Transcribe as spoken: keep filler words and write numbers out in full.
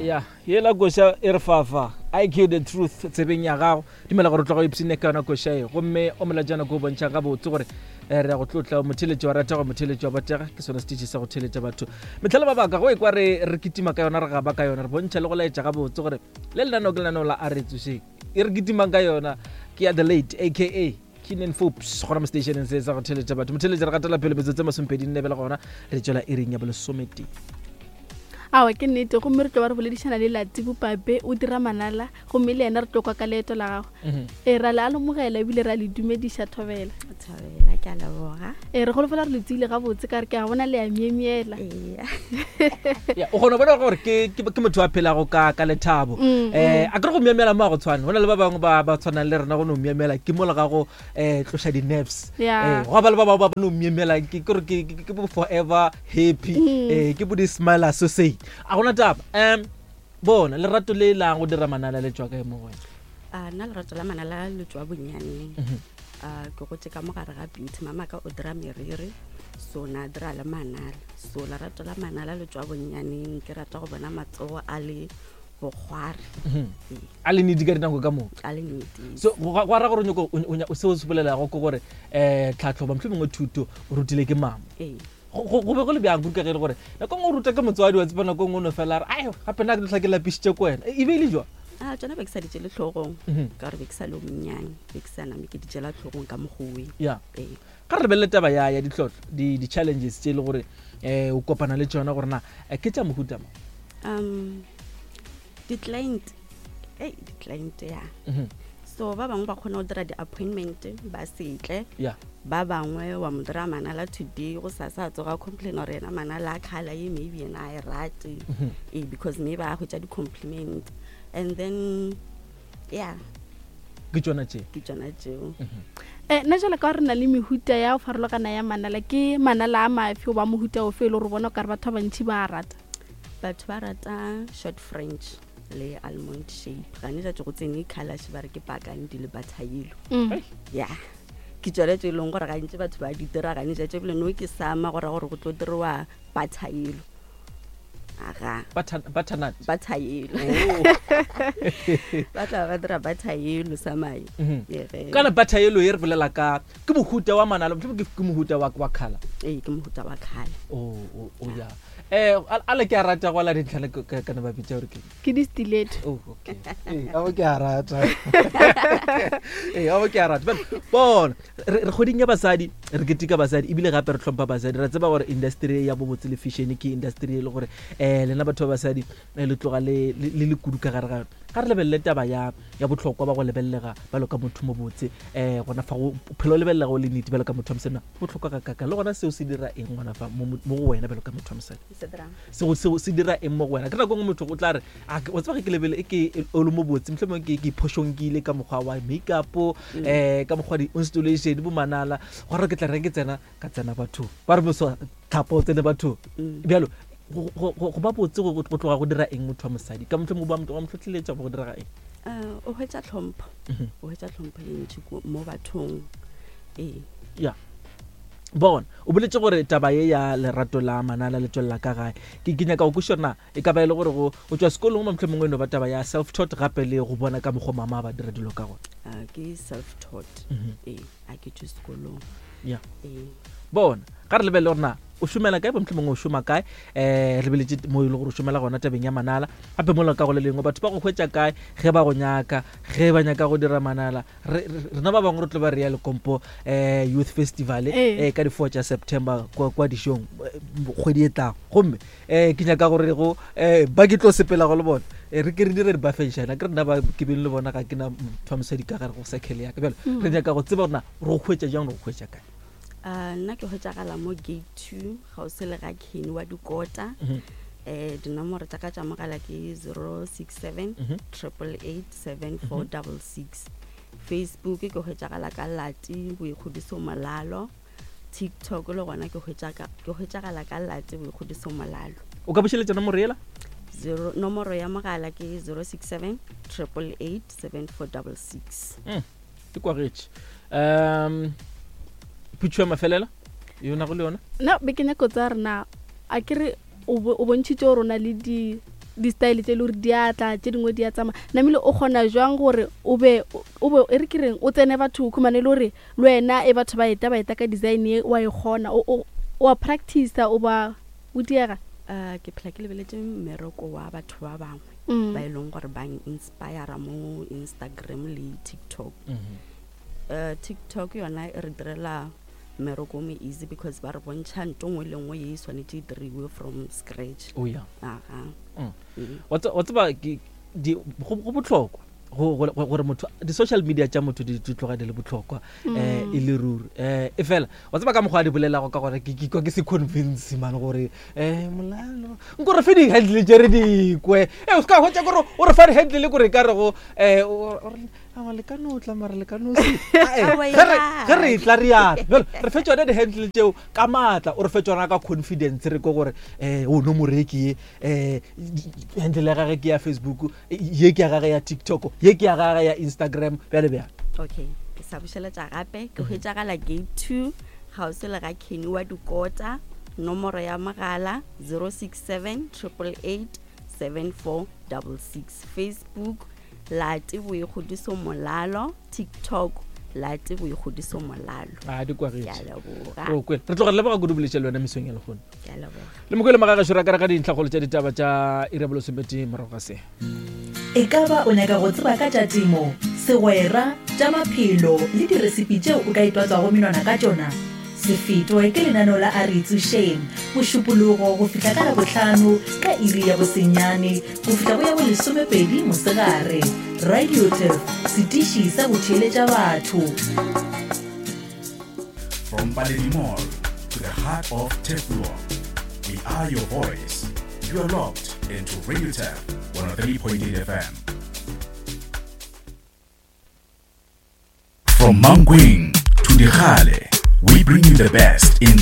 Ya, yela koša e re fafa I Q The Truth tsebeng ya gago. Dumela gore o tloga o ipsene ka yona koša e, gomme o molajana ko o bontšha gabotse gore eh, re ya go tlotla motheletši wa rata go motheletši wa botega. Ke sone setitši sa go theletša batho metlhale ba baka go e kwa re re kitima ka yona, re gaba ka yona, re bontšha le go laetša gabotse gore le lenaneo ke lenaneo la A Re Tsošeng. E re kitimang ka yona ke ya The Late aka Keenan Forbes gona mo stationeng se sa go theletša batho. Motheletši, re gatela pele, metsotso e masomepedi nne bele gona re tswela iring ya bolesometee. Awa, ke nnete, gomme re tlo ba re boledišana le Lati Bopape, o dira manala, gomme le yena re tlo kwa ka leeto la gago. Mhm. E ra le amogela ebile ra le dumediša, thobela. Thabela, ke a leboga. E re golofela re le tsile gabotse ka re ke a bona le a myemyela. Ee. Ya, o kgona go bona gore ke ke ke motho a phelago ka ka lethabo. Mm, eh a kere go myemyela mo a go tshwane, go na le ba bangwe ba ba tshwanang le rena, go no myemyela ke mola ga go um tloša di-nerves. Ya. Eh, go ba le ba bangwe ba ba no myemyela ke kore ke ke- ke bo forever happy. Mm. eh ke bo di-smile associate, a gona taba. um bona lerato le lang go dira manala le tswa kae mo go wena? A nna lerato la manala le tswa bonyaneng. Mhm. A ke gotse ka mogare ga beauty, mamaka o dira meriri, so na dira le manala, so lerato la manala le tswa bonyaneng. Ke rata go bona matsogo a le bokgware. Mhm. A le nedi ka dinako ka moka. A le nnete. So go go ra gore o nyako- o- o nya- seo se bolelago ke gore um tlhatlhoba motlho mongwe thuto o rutile ke mama. Ee. go go- go be go le bjang kudu ka ge e le gore nako ngwe o ruta ke motswadi wa tseba, nako ngwe o no fela a re ai gape nna ke tla ke lapišitše ko wena, e be e le jwa? A tsona be ke sa di tšele tlhogong Mhm. ka gore be ke sa le o monnyane, be ke sa name ke di tšela tlhogong ka mogowe. Ya. Ee. Ga re lebelele taba ya ya ditlhotlho, di- di-challenges tše e le gore um o kopana le tšona, gore na eh, ke tša mohuta mo? um di-client, ei, di-client ya. Mhm. So ba bangwe ba kgona go dira di-appointment ba setle. Ya. Ba bangwe wa mo dira manala today, go sa sa tsoga complain gore yena manala a colour ye maybe yena a e rate. Mhm. Ee, because maybe a hwetša di-compliment and then, yeah. Ke tšona tše. Ke tšona tšeo. um nna jalo ka gore re na le mehuta ya go farologana ya manala, ke manala a mafe o ba mohuta ofe e le gore bona o kare batho ba bantšhi ba a rata? Batho ba rata short French le almond shape. Gane jatse go tsene colours ba re ke burgundy le butter yellow. Mm. Ya, ke tsone tse e leng gore gantsi batho ba di dira gane jatse, ebile no ke sama gore gore go tlo diriwa butter yellow aga. Butter- butternut. Butter yellow. Oh. Ba tla ba dira butter yellow samae. Mhm. Ee. Kana butter yellow e re bolela ka ke mohuta wa manala, mohlomong ke ke mohuta wa wa colour? Ee, ke mohuta wa colour. o o o ya, eh a a le ke a rata go ala dintlhale kana ba bitsa gore ke Ke di-stiletto. Oh, okay. Ee, abo ke a rata. Ee, abo ke a rata. Bjale, bona, re re kgweding ya basadi, re keteka basadi ebile gape re hlompha basadi. Re tseba gore industry ya bobotse le fashion ke industry e le gore um lena batho ba basadi eh, le tloga le le le le kudu ka gare ga yona. Ga re lebelele taba ya ya bohlokwa ba go lebelelega bjalo ka motho mo botse, um gona fa go phelo o lebelelega o le nnete bjalo ka motho wa mosadi, na bohlokwa ga kaka le gona seo se dira eng gona fa mo mo go wena bjalo ka motho wa mosadi? Se dirang? Seo seo se dira eng mo go wena? Ke nako e nngwe motho o tla re, "Ah, ke- wa tseba ge ke lebele e ke o le mo botse, mohlomongwe ke ke iphošonkile ka mokgwa wa makeup, um ka mokgwa wa di-installation bo manala, gore ke tla reng ke tsena ka tsena bathong ba re moso tlhapo o tsene bathong." Mm. Bjalo go- go go- go ba botse go go tloga go dira eng motho wa mosadi, ka mohlomongwe ba motho wa mo tlhotlheletša go diraga eng? Eh, o hwetša tlhompho. Mhm. O hwetša tlhompho e ntši ko- mo bathong, ee. Ya, bona, o boletse gore taba ye ya lerato la manala le tswelela ka gae. ke ke nyaka go kweša gore na e ka ba e le gore go go tswa sekolong mo mohlomongwe e no ba taba ya self taught, gape le go bona ka mokgwa mama ba dira dilo ka gona? Ah, ke self taught. Mhm. Ee, a ke tswe sekolong. Ya. Ee. Bona, ga re lebelele gore na o šomela kae, mohlomongwe o šoma kae, um re lebeletse mo e le gore o šomela gona tabeng ya manala, gape mola ka go le lengwe batho ba go hwetša kae ge ba go nyaka, ge ba nyaka go dira manala? Re- re- rena ba bangwe re tlo ba re ya Lekompo um Youth Festival Ee. um ka di-four tša September kwa kwa dišong, eh, kgwedi e tlago, gomme um ke nyaka gore go um ba ke tlo sepela go le bona. Eh, re ke re dire dibafenšana ke rena ba ke beng le bona, ga ke na motho wa mosadi ka gare go circle yaka. Bjalo Mm. re nyaka go tseba gore na re go hwetša jang, re go hwetša kae? Ah, nna ke hwetšagala mo gate two gausi le ga Kenny wa dikota. Mhm. um dinomoro tša ka tša mogala ke zero six seven Mhm. triple eight seven four double six. Facebook ke hwetšagala ka Lati Boikgodiso Molalo. TikTok le gona ke hwetša ka- ke hwetšagala ka Lati Boikgodiso Molalo. O ka bušeletša nomoro yela? Zero, nomoro ya mogala ke zero six seven triple eight seven four double six. Ke kwagetše. um phutšho ya mafelela yona go le yona? Nna be ke nyako tsa rena a ke re o bo- o bontšhitše gore o na le di di-style tse e le gore di atla tše dingwe di a tsamaya namile o kgona jwang gore o be o be e re ke reng o tsene batho o khumane le gore le wena e batho ba eta ba eta ka design e wa e kgona o o- o a practice o ba o diega um ke phela ke lebeletse mmereko wa batho ba bangwe Mm. ba e leng gore ba inspira mo Instagram le TikTok uh, TikTok yona e re direla mmereko o mo easy because ba re bontšha nto nngwe le nngwe ye e swanetše e diriwe from scratch o ya aga Mm. Mm. wa tse- wa tseba ke- di- go go botlhokwa go- go- gore motho di-social media tša motho di di tloga di le botlhokwa um e le ruri um e fela wa tseba ka mokgwa a di bolelago ka gore ke ke kwa ke se convince man gore um molalo nko re fe di-handle tše re dikwe e o se ka hwetša kore o re fa di-handle kore ka rego um awa le ka no tla mara le ka no se Ae, Aowa, ge re- ya. ge re tla re yana jale re fe tsone di-handle tšeo ka maatla o re fe tsona ka confidence re ko gore um o no moreki ye um handle ya gage ke ya Facebook ye ke ya gage ya TikTok ye ke ya gage ya Instagram bjale bjale okay ke sa bušeletša gape ke hwetšagala gate two kgauswi le ga kenny wa dikota nomoro ya mogala zero six seven triple eight seven four double six Facebook Late Boikgodiso Molalo TikTok Late Boikgodiso Molalo a di ke a kwagetše leboga re kwele re tloga re leboga kudu boletša le wena mesong ya lekgono ke a leboga le mokwele magagašo ra kare ga dintlhakgolo tša ditaba tša iri ya bolesomepedi morago ga se E ka ba o nyaka go tseba ka tša temo, segwera, tša maphelo le diresipi tšeo o ka itwatswago menwana ka tšona? Se fetwe ke lenaneo la A Re Itsošeng Mošupologo go fihla ka Labohlano ka iri ya bosenyane go fihla go ya bolesomepedi mosegare. Radio Turf, setiši sa go theeletša batho. From Paledi Mall to the heart of Teflon, we are your voice. You are locked into Radio Tef one oh three point eight F M. From Mankweng to Digale, we bring you the best in